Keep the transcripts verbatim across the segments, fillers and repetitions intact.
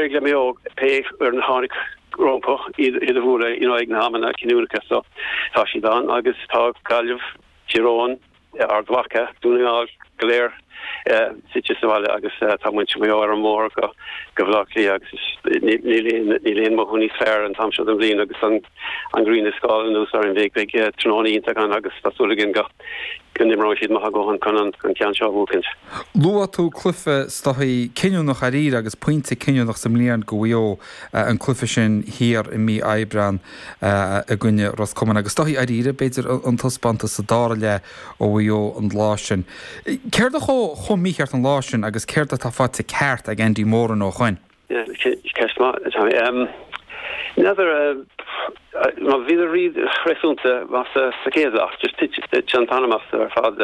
D'éirigh le Maigh Eo pé ar na tháinig rompu iad iad a bhualadh you know, ag na hamanna cinniúnacha so tá siad ann agus tá Gaillimh, Tír Eoghain, Ard Mhacha, Dún na nGall go léir suite sa bhaile agus tá muintir Mhaigh Eo ar an mbóthar go go Baile Átha Cliath agus níl aon mothú níos fearr an t-am seo den bhliain agus an an ghrian ag scáil anuas orainn beidh beidh tráthnóna iontach ann agus tá súil againn go go n-imreoidh siad maith go chun an an ceann seo a bhuachaint. Luaigh tú cluiche is dóichí cinniúnach arís agus pointe cinniúnach sa mbliain do Mhaigh Eo an cluiche sin thiar i mí Aibreáin i gcoinne Ros Comáin agus is dóichí arís b'fhéidir an taispeántas sa dara leath ó Mhaigh Eo an lá sin. Céard a chuaigh chomh mícheart an lá sin agus céard atá faighte ceart ag Andy Moran ó shin? Ceist maith N'fheadar má bhí riad réasúnta maith sa chéad leath just thit an t-anam astu ar fad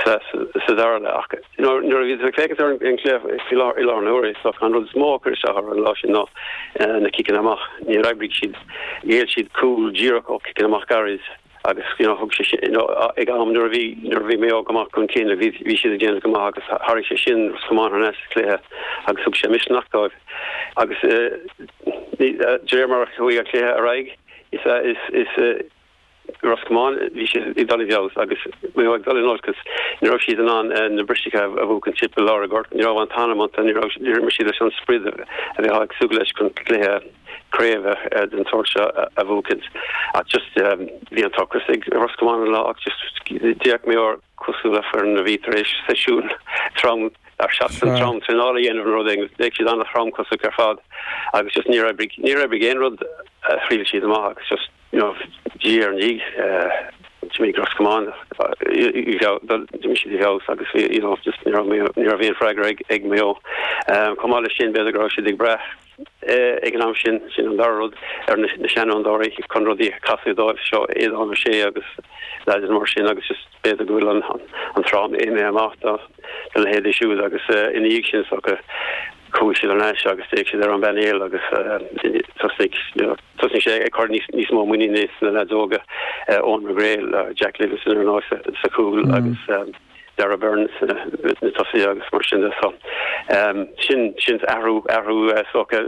sa dara leath nuair a bhí féachaint ar an cluiche i lár i lár na huaire so an rud is mó chuir isteach ar an lá sin ná na ciceanna amach ní oibrigh siad ghéill siad cúl díreach ó ciceanna amach gairid agus you know, thug sé sin you know, ag am nuair a bhí nuair a bhí Maigh Eo go maith chun cinn bhí bhí siad ag déanamh go maith agus tharraing sé sin Ros Comáin thar n-ais sa chluiche agus thug sé misneach dóibh agus uh, de réir mar a chuaigh an cluiche ar aghaidh is is is uh, Ros Comáin bhí sé ag dul i bhfeabhas agus Maigh Eo ag dul in olcas ní raibh siad in ann na bristeacha a bhuachan timpeall lár an ghoirt ní raibh an t-anam iontu ní raibh siad leis an sprid a bheith ag súil leis chun cluiche craoibhe den sórt seo a bhuachaint ach just bhí an t-ocras ag Ros Comáin an lá ach just d'fhéach Maigh Eo cosúil le foireann a bhí tar éis seisiún trom ar seachtain trom traenála a dhéanamh rud éigin d'fhéach siad an-thromchosach ar fad agus just ní oibrigh ní oibrigh aon rud a thriail siad amach agus just you know diaidh ar ndiaidh d'imigh Ros Comáin d'imigh siad i bhfeabhas agus you know just ní ní raibh aon freagra ag ag Maigh Eo. Chomh maith leis sin b'fhéidir go raibh siad ag brath ag an am sin sin an dara rud ar na seanfhondúirí chun rudaí a chasadh dóibh seo Aodán Ó Sé agus leaids mar sin agus just b'fhéidir go bhfuil an an tráth imithe amach do do leithéidí siúd agus ina dhiaidh sin so chuaigh siad thar n-ais agus d'fhéach siad ar an bpainéal agus tosnaigh tosnaigh sé ag cur níos níos mó muiníne sna leaids óga Eoin McGrail, Jack Livingston ar ndóigh sa chúl agus Darragh Beirne na tosaithe agus mar sin de so sin sin athrú athrú socha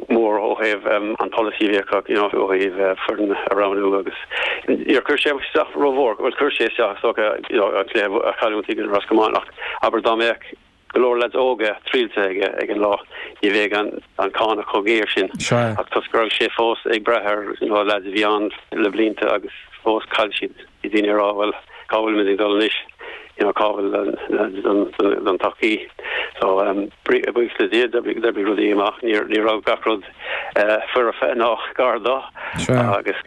mór ó thaobh an policy bhí acu you know ó thaobh foireann a roghnú agus níor chuir sé isteach rómhór bhuel chuir sé isteach socha you know an cluiche a chailliúint i Ros Comáin ach abair dá mbeadh go leor leaids óga triailte aige ag an lá ní bheadh an an cáineadh chomh géar sin ach toisc go raibh sé fós ag brath ar you know leaids a bhí ann le blianta agus fós chaill siad bhí daoine ag rá bhuel cá bhfuil muid ag dul anois you know cá bhfuil don don todhchaí so um buíochas le Dia d'oibrigh rudaí amach ní ní raibh gach rud uh, foirfe ná gar dó agus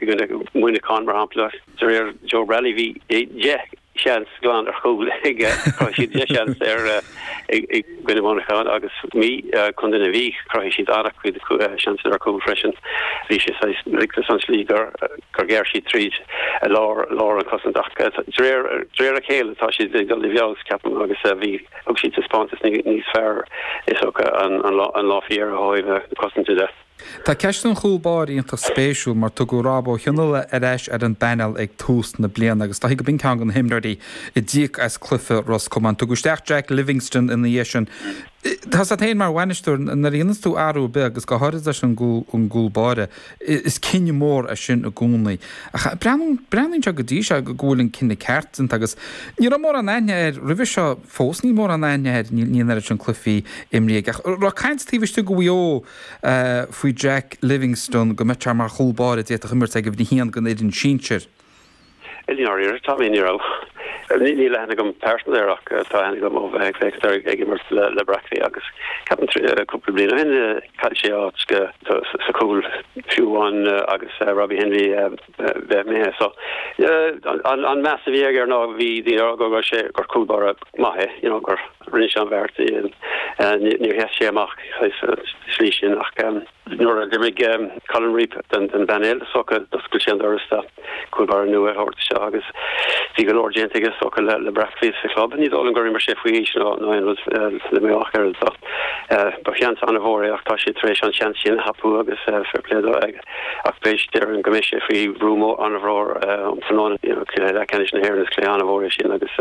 Muineachán mar shampla de réir Joe Bralley bhí deich seans glan ar chúl ag siad deich seans ar i gcoinne Mhuineacháin agus mí chun na bhí chruthaigh siad an-chuid seans ar chúl freisin bhí sé riachtanas an slí gur gur ghearr siad tríd lár lár an chosaint ach de réir a chéile tá siad ag dul i bhfeabhas ceapaim agus bhí thug siad taispeántas níos fearr is an an lá faoi dheireadh ó thaobh cosaint de. Tá ceist an chúl báire iontach spéisiúil mar tugadh Rob Ó Chionnaile ar ais ar an bpainéal ag tús na bliana agus tá go b'in ceann de na himreoirí a d'íoc as cluiche Ros Comáin. Tugadh isteach Jack Livingston ina dhiaidh sin. Tá sa féin mar bhainisteoir nuair a dhéananns tú athrú ar bith agus go háirithe leis an gcúl báire is cinneadh mór é sin i gcónaí. Ach breathnaíonn sé go dtí seo go bhfuil an cinneadh ceart déanta agus ní raibh mórán aithne air roimhe seo fós níl mórán aithne air níl an oiread sin cluichí imrithe ach raibh caint taobh istigh de Mhaigh Eo faoi Jack Livingston go mbeadh sé mar chúl báire a d'fhéadfadh imirt ag uimhir a haon den fhoireann sinsir. I ndáiríre tá mé ní raibh. Níl aithne agam pearsanta air ach tá aithne agam ó bheith ag féachaint ag imirt le le Brackley agus ceapaim cúpla bliain ó shin chaill sé áit go sa chúl fiú amháin agus Robbie Henley bheith imithe so an an meas a bhí aige ná bhí daoine go raibh sé gur cúl báire maith é you know gur rinne sé an bheart níor sheas sé amach slí sin ach nuair a d'imigh Colin Reape den den bpainéal socha d'oscail sé an doras do chúl báire nua a thabhairt isteach agus bhí go leor déanta aige socha le le Brackley sa chlub ní dóigh liom gur imir sé faoi aois ná ná aon rud le Maigh Eo ach oiread so ba sheans an-mhór é ach tá sé tar éis an seans sin a thapú agus fair play dó ach beidh déarfainn go mbeidh sé faoi bhrú mór an-mhór um tráthnóna cluiche leathcheannais na hÉireann is cluiche an-mhór é sin agus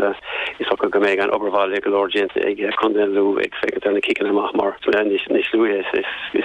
is dócha go mbeidh an obair bhaile go leor déanta ag Contae Lú ag féachaint ar na ciceanna amach mar níos níos luaithe is is